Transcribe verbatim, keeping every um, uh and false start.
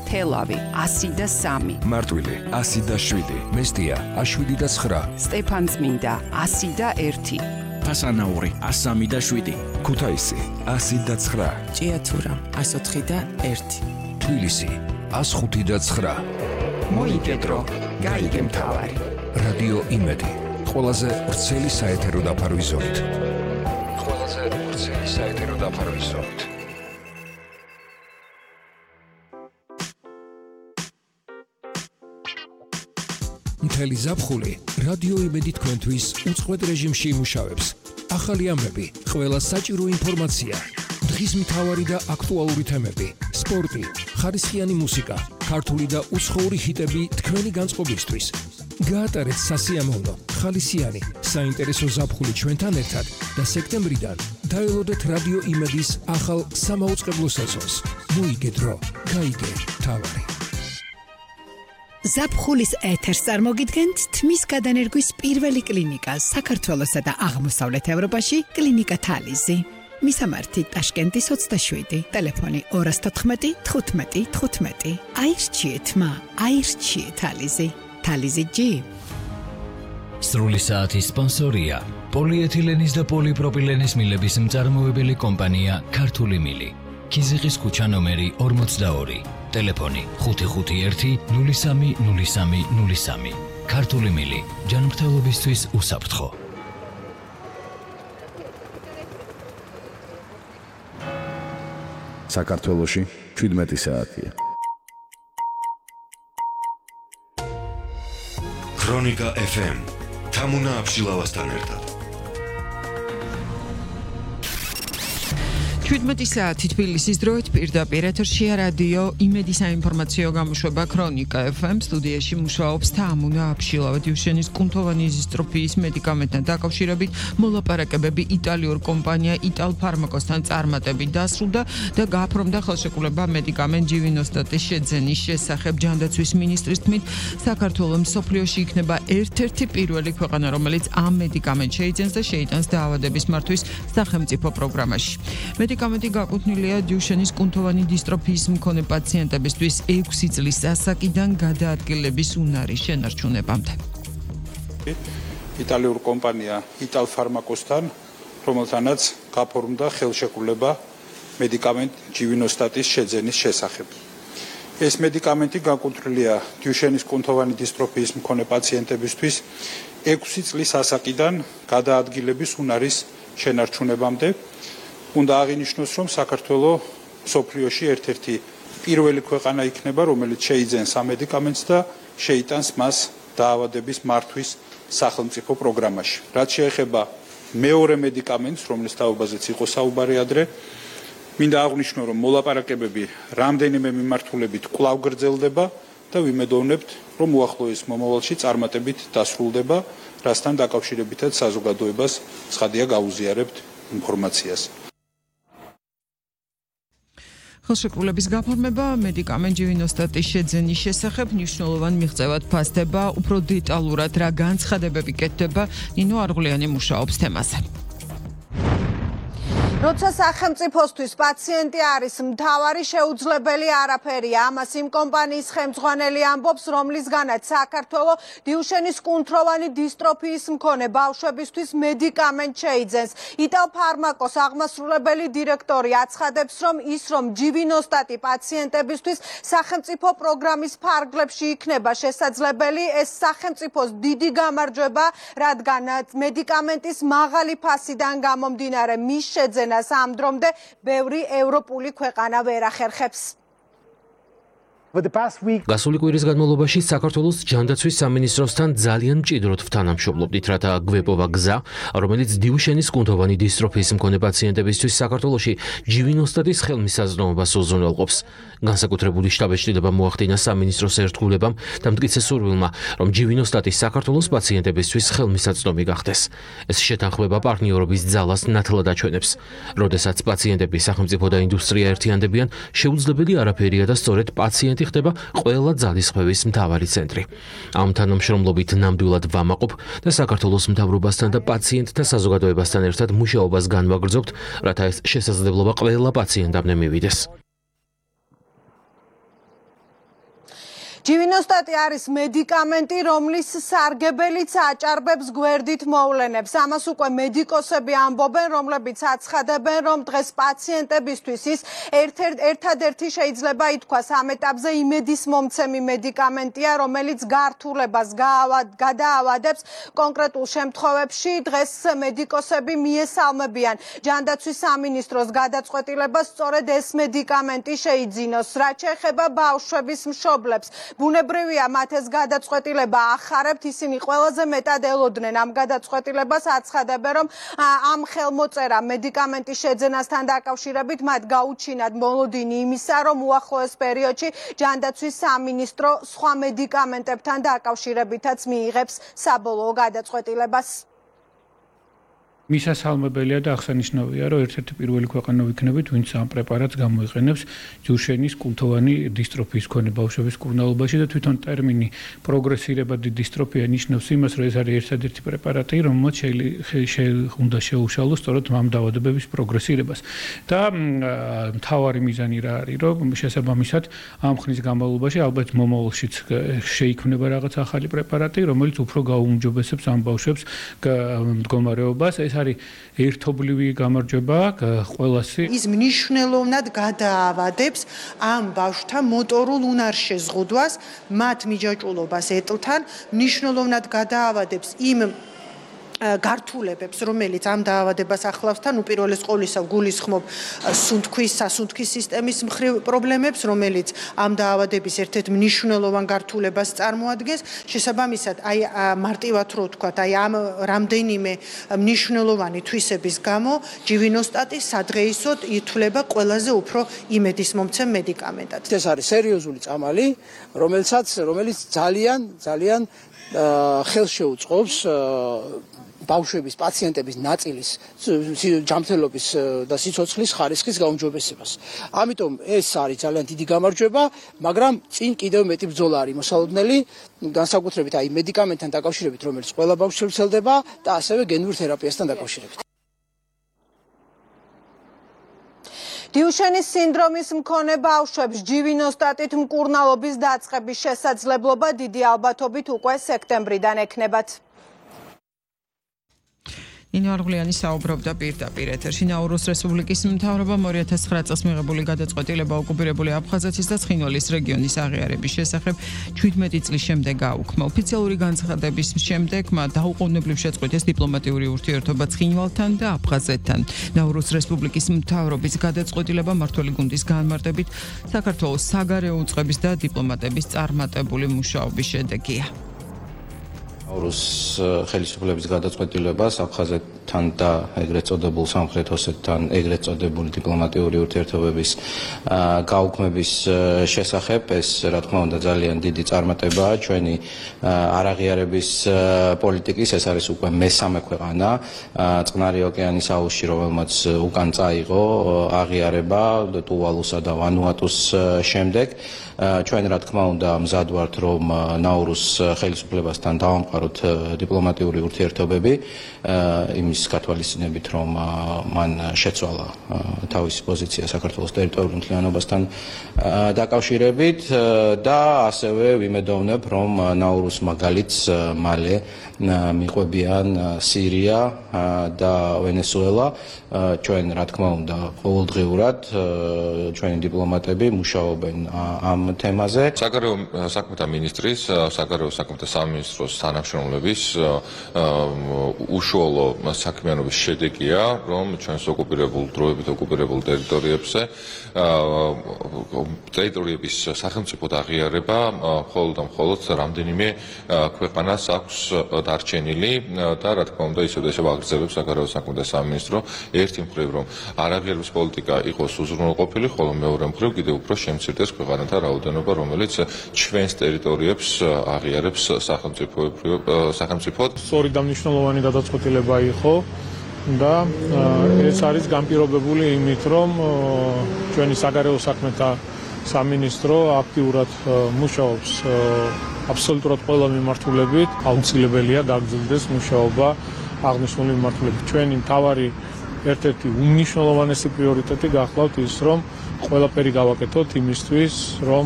თელავი ასი და სამი, მარტვილი ასი და შვიდი, მესტია შვიდი და ცხრა, სტეფანწმინდა ასი და ერთი, ფასანაური სამი და შვიდი, ქუთაისი ასი და ცხრა, ჭიათურა ოთხი და ერთი, თბილისი ხუთი და ცხრა. მოიგედრო, გაიგე მთავარი. რადიო იმედი, ყველაზე ვრცელი საეთერო დაფარვის ზოლით. ყველაზე ვრცელი საეთერო დაფარვის ზოლით. მთელი ზაფხული რადიო იმედი თქვენთვის უწყვეტ რეჟიმში იმუშავებს. ახალი ამბები, ყველა საჭირო ინფორმაცია, დღის მთავარი და აქტუალური თემები, სპორტი, ხარისხიანი მუსიკა, ქართული და უცხოური ჰიტები თქვენი განწყობისთვის. გაატარეთ სასიამოვნო, ხალისიანი, საინტერესო ზაფხული ჩვენთან ერთად და სექტემბრიდან დაელოდეთ რადიო იმედის ახალ სამაუწყებლო სეზონს. მოიგე დრო, გაიგე მთავარი. ზაფხულის ეთერს წარმოგიდგენთ თმის გადანერგვის პირველი კლინიკა საქართველოსა და აღმოსავლეთ ევროპაში, კლინიკა თალიზი. მისამართი ტაშკენტის ოცდაშვიდი, ტელეფონი ორი თოთხმეტი თხუთმეტი თხუთმეტი. აირჩიეთ მა, აირჩიეთ თალიზი. თალიზი ჯი. სრული საათის სპონსორია პოლიეთილენის და პოლიპროპილენის მილების მწარმოებელი კომპანია ქართული მილი. ქიზიყის ქუჩა ნომერი ორმოცდაორი, ტელეფონი ხუთი ხუთი ერთი ნული სამი ნული სამი ნული სამი. ქართული მილი, ჯანმრთელობისთვის უსაფრთხო. საქართველოში შვიდმეტი საათია. ქრონიკა ეფ ემ თამუნა აბშილავასთან ერთად. შვიდმეტი საათი თბილისის დროით პირდაპირ ეთერშია რადიო იმედი საინფორმაციო გამოშვება ქრონიკა ეფ ემ. სტუდიაში მუშაობს თამუნა აბშილავა. დიუშენის კუნთოვანი იზისტროფიის მედიკამენტთან დაკავშირებით მოლაპარაკებები იტალიურ კომპანია იტალფარმაკოსთან წარმატებით დასრულდა და გააფორმდა ხელშეკრულება მედიკამენტ ჯივინოსტატის შეძენის შესახებ. ჯანდაცვის მინისტრის თქმით, საქართველო მსოფლიოში იქნება ერთ-ერთი პირველი ქვეყანა, რომელიც ამ მედიკამენტს შეიძენს და შეიტანს დაავადების მართვის სახელმწიფო პროგრამაში. მედიკამენტი გაკუთვნილია დიუშენის კუნთოვანი დისტროფიის მქონე პაციენტებისთვის ექვსი წლის ასაკიდან გადაადგილების უნარის შენარჩუნებამდე. იტალიურ კომპანია იტალფარმაკოსთან, რომელთანაც გაფორმდა ხელშეკრულება მედიკამენტ ჯივინოსტატის შეძენის შესახებ. ეს მედიკამენტი გაკუთვნილია დიუშენის კუნთოვანი დისტროფიის მქონე პაციენტებისთვის ექვსი წლის ასაკიდან გადაადგილების უნარის შენარჩუნებამდე. უნდა აღინიშნოს, რომ საქართველო მსოფლიოში ერთ-ერთი პირველი ქვეყანა იქნება, რომელიც შეიძენს ამ მედიკამენტს და შეიტანს მას დაავადების მართვის სახელმწიფო პროგრამაში. რაც შეეხება მეორე მედიკამენტს, რომლის თაობაზეც იყო საუბარი ადრე, მინდა აღვნიშნო, რომ მოლაპარაკებები რამდენიმე მიმართულებით კვლავ გრძელდება და ვიმედოვნებთ, რომ უახლოეს მომავალში წარმატებით დასრულდება, რასთან დაკავშირებითაც საზოგადოებას ცხადია გაუზიარებთ ინფორმაციას. ხელშეკრულების გაფორმება მედიკამენტ ჯივინოსტატის შეძენის შესახებ მნიშვნელოვან მიღწევად ფასდება. უფრო დეტალურად რა განცხადებები კეთდება, ნინო არღულიანი მუშაობს თემაზე. როცა სახელმწიფოსთვის პაციენტი არის მთავარი, შეუძლებელი არაფერია. ამას იმ კომპანიის ხელმძღვანელი ამბობს, რომლისგანაც საქართველო დიუშენის კუნთოვანი დისტროფიის მქონე ბავშვებისთვის მედიკამენტ შეიძენს. იტალფარმაკოს აღმასრულებელი დირექტორი აცხადებს, რომ ის რომ ჯივინოსტატი პაციენტებისთვის სახელმწიფო პროგრამის ფარგლებში იქნება შესაძლებელი, ეს სახელმწიფოს დიდი გამარჯვება, რადგან მედიკამენტის მაღალი ფასიდან გამომდინარე მის შეძენას ამ დრომდე ბევრი ევროპული ქვეყანა ვერ ახერხებს. გასული კვირის განმავლობაში საქართველოს ჯანდაცვის სამინისტროსთან ძალიან მჭიდროდ ვთანამშრომლობდით, რათა გვეპოვა გზა, რომელიც დიუშენის კუნთოვანი დისტროფიის მქონე პაციენტებისთვის საქართველოში ჯივინოსტატის ხელმისაწვდომობას უზრუნველყოფს. განსაკუთრებული შტაბ-ეჭდილება მოახდინა სამინისტროს ერთგულებამ და მტკიცე სურვილმა, რომ ჯივინოსტატი საქართველოს პაციენტებისთვის ხელმისაწვდომი გახდეს. ეს შეთანხმება პარტნიორობის ძალას ნათლად აჩვენებს. როდესაც პაციენტები, სახელმწიფო და ინდუსტრია ერთიანდებიან, შეუძლებელი არაფერია და სწორედ პაციენტი ხდება ყველა ძალისხმევის მთავარი ცენტრი. ამ თანამშრომლობით ნამდვილად ვამაყობ და საქართველოს მთავრობასთან და პაციენტთა საზოგადოებასთან ერთად მუშაობას განვაგრძობთ, რათა ეს შესაძლებლობა ყველა პაციენტამდე მივიდეს. ჯივინოსტატი არის მედიკამენტი, რომლის სარგებელიც აჭარბებს გვერდით მოვლენებს. ამას უკვე მედიკოსები ამბობენ, რომლებიც აცხადებენ, რომ დღეს პაციენტებისთვის ის ერთადერთი შეიძლება ითქვას ამ ეტაპზე იმედის მომცემი მედიკამენტია, რომელიც გართულებას გადაავადებს. კონკრეტულ შემთხვევებში დღეს მედიკოსები მიესალმებიან ჯანდაცვის სამინისტროს გადაწყვეტილებას სწორედ ეს მედიკამენტი შეიძინოს. რაც შეეხება ბავშვების მშობლებს, ბუნებრივია მათ ეს გადაწყვეტილება ახარებთ, ისინი ყველაზე მეტად ელოდნენ ამ გადაწყვეტილებას, აცხადებენ, რომ ამ ხელმოწერა მედიკამენტის შეძენასთან დაკავშირებით მათ გაუჩინათ მოლოდინი იმისა, რომ უახლოეს პერიოდში ჯანდაცვის სამინისტრო სხვა მედიკამენტებთან დაკავშირებითაც მიიღებს საბოლოო გადაწყვეტილებას. მისასალმებელია და აღსანიშნავია, რომ ერთ-ერთი პირველი ქვეყანა ვიქნებით, ვინც ამ პრეპარატს გამოიყენებს ჯუშენის კუნთოვანი დისტროფიის მქონე ბავშვების მკურნალობაში და თვითონ ტერმინი პროგრესირებადი დისტროფია ნიშნავს იმას, რომ ეს არის ერთადერთი პრეპარატი, რომელმაც უნდა შეუშალოს სწორედ ამ დაავადებების პროგრესირებას. და მთავარი მიზანი რა არის, რომ შესაბამისად ამ ხნის განმავლობაში ალბათ მომავალშიც შეიქმნება რაღაც ახალი პრეპარატი, რომელიც უფრო გაუმჯობესებს ამ ბავშვებს მდგომარეობას. ეს არის ერთობლივი გამარჯვება ყველასი. ის მნიშვნელოვნად გადაავადებს ამ ბავშვთა მოტორულ უნარშეზღუდვას, მათ მიჯაჭვულობას ეტლთან, მნიშვნელოვნად გადაავადებს იმ გართულებებს, რომელიც ამ დაავადებას ახლავს თან უპირველეს ყოვლისა გულისხმობ სუნთქვის, სასუნთქვის სისტემის მხრივ პრობლემებს, რომელიც ამ დაავადების ერთ-ერთ მნიშვნელოვან გართულებას წარმოადგენს. შესაბამისად, აი მარტივად რო ვთქვათ, აი ამ რამდენიმე მნიშვნელოვანი თვისების გამო ჯივინოსტატი სადღეისოდ ითვლება ყველაზე უფრო იმედისმომცემ მედიკამენტად. ეს არის სერიოზული წამალი, რომელსაც რომელიც ძალიან ძალიან ხელს შეუწყობს ბავშვების, პაციენტების ნაწილის ჯანმრთელობის და სიცოცხლის ხარისხის გაუმჯობესებას. ამიტომ ეს არის ძალიან დიდი გამარჯვება, მაგრამ წინ კიდევ მეტი ბრძოლა არის მოსალოდნელი, განსაკუთრებით აი მედიკამენტთან დაკავშირებით, რომელიც ყველა ბავშვს ვრცელდება და ასევე გენურ თერაპიასთან დაკავშირებით. დიუშენის სინდრომის მქონე ბავშვებს ჯივინოსტატით მკურნალობის დაწყების შესაძლებლობა დიდი ალბათობით უკვე სექტემბრიდან ექნებათ. ნინო არღულიანი საუბრობდა პირდაპირ ეთერში. ნაურუს რესპუბლიკის მთავრობამ ორი ათას ცხრა წელს მიღებული გადაწყვეტილება ოკუპირებული აფხაზეთის და ცხინვალის რეგიონის აღიარების შესახებ ჩვიდმეტი წლის შემდეგ გაუქმა. ოფიციალური განცხადების შემდეგ მათ დაუყოვნებლივ შეწყვიტეს დიპლომატიური ურთიერთობა ცხინვალთან და აფხაზეთთან. ნაურუს რესპუბლიკის მთავრობის გადაწყვეტილება მმართველი გუნდის განმარტებით საქართველოს საგარეო უწყების და დიპლომატების წარმატებული მუშაობის შედეგია. ნაურუს ხელისუფლების გადაწყვეტილებას აფხაზეთთან და ეგრეთ წოდებულ სამხრეთ ოსეთთან ეგრეთ წოდებული დიპლომატიური ურთიერთობების გაუქმების შესახებ ეს რა თქმა უნდა ძალიან დიდი წარმატებაა ჩვენი არაღიარების პოლიტიკის. ეს არის უკვე მესამე ქვეყანა წყნარი ოკეანის აუზში, რომელმაც უკან წაიღო აღიარება ტუვალუსა და ვანუატუს შემდეგ. ჩვენ რა თქმა უნდა მზად ვართ, რომ ნაურუს ხელისუფლებასთან დავამყაროთ დიპლომატიური ურთიერთობები იმის გათვალისწინებით, რომ მან შეცვალა თავისი პოზიცია საქართველოს ტერიტორიულ მთლიანობასთან დაკავშირებით და ასევე ვიმედოვნებ, რომ ნაურუს მაგალითს მალე მიყვებიან სირია და ვენესუელა. ჩვენ რა თქმა უნდა ყოველდღიურად ჩვენი დიპლომატები მუშაობენ ამ თემაზე. საგარეო საქმეთა მინისტრის, საგარეო საქმეთა სამინისტროს თანამშრომლების უშუალო საქმიანობის შედეგია, რომ ჩვენს ოკუპირებულ დროებით ოკუპირებულ ტერიტორიებზე ტერიტორიების სახელმწიფოდ აღიარება მხოლოდ და მხოლოდ რამდენიმე ქვეყანას აქვს დარჩენილი და რა თქმა უნდა ისევ და ისევ აგრძელებს საგარეო საქმეთა სამინისტრო ერთი მხრივ, რომ არაღიარების პოლიტიკა იყოს უზრუნველყოფილი, ხოლო მეორე მხრივ კიდევ უფრო შემცირდეს ქვეყანათა რაოდენობა, რომელიც ჩვენს ტერიტორიებს აღიარებს სახელმწიფოდ. სწორი და მნიშვნელოვანი გადაწყვეტილება იყო და ეს არის განპირობებული იმით, რომ ჩვენი საგარეო საქმეთა სამინისტრო აქტიურად მუშაობს აბსოლუტურად ყველა მიმართულებით. აუცილებელია გაგრძელდეს მუშაობა აღნიშნული მიმართულებით. ჩვენი მთავარი ერთ-ერთი უმნიშვნელოვანესი პრიორიტეტი გახლავთ ის, რომ ყველაფერი გავაკეთოთ იმისთვის, რომ